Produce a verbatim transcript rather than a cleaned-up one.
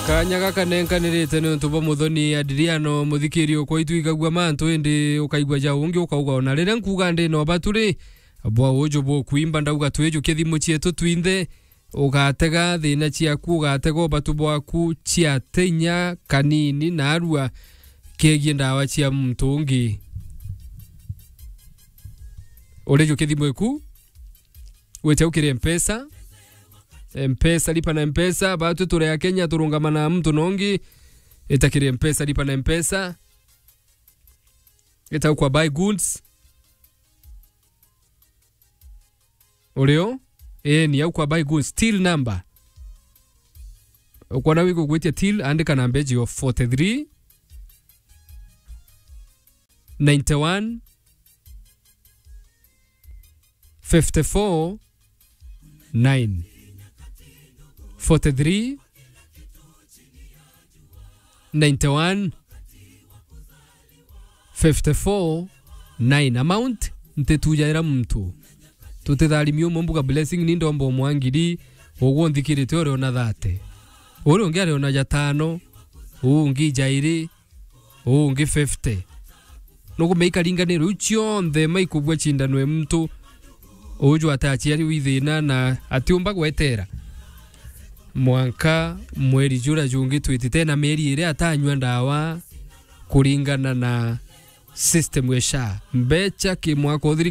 Kanya gaka nenkanirite niuntu bwa muthoni Adriano, muthikiri ukwa itwigagua mantu, indi ukaigua ja ungi ukauga. Ona riria nkuuga ndi na ubatu ri, bwa uju bukwimba, ndauga twijukie thimu cietu twinthe, ugatega thina ciaku, ugatega ubatu bwaku ciate inya kanini, na arua kegie ndawa cia muntu ungi. Urijukie thimu iku, wite au kiri Mpesa. Mpesa, lipa na Mpesa, batwi turi a Kenya, turungama na muntu nongi. Ita kiri Mpesa, lipa na Mpesa. Ita au kwa buy goods. Urio? Ii, ni au kwa buy goods. Till number. Ukwona wigugwitia till, andika namba icio forty-three, ninety-one, fifty-four, nine. Forty-three, ninety-one, fifty-four, nine. Amount, ntitujaira muntu. Tutitharimi umwe mbuga blessing ni ndomba umwe ngiri, ugwe unthikirite uriona thirty. Uri ungi ariona jatano, uu ungi jairi, uu ungi fifty. Nukumenya ikaringanirwe iu cionthe, maikubua cindano e muntu uju ataciari wi thina na atiumba gwetera. Mwanka mweri jura jungi twitite na mieri iri atanyua ndawa kuringana na system ya SHA. Mbecha ki mwaka uthiri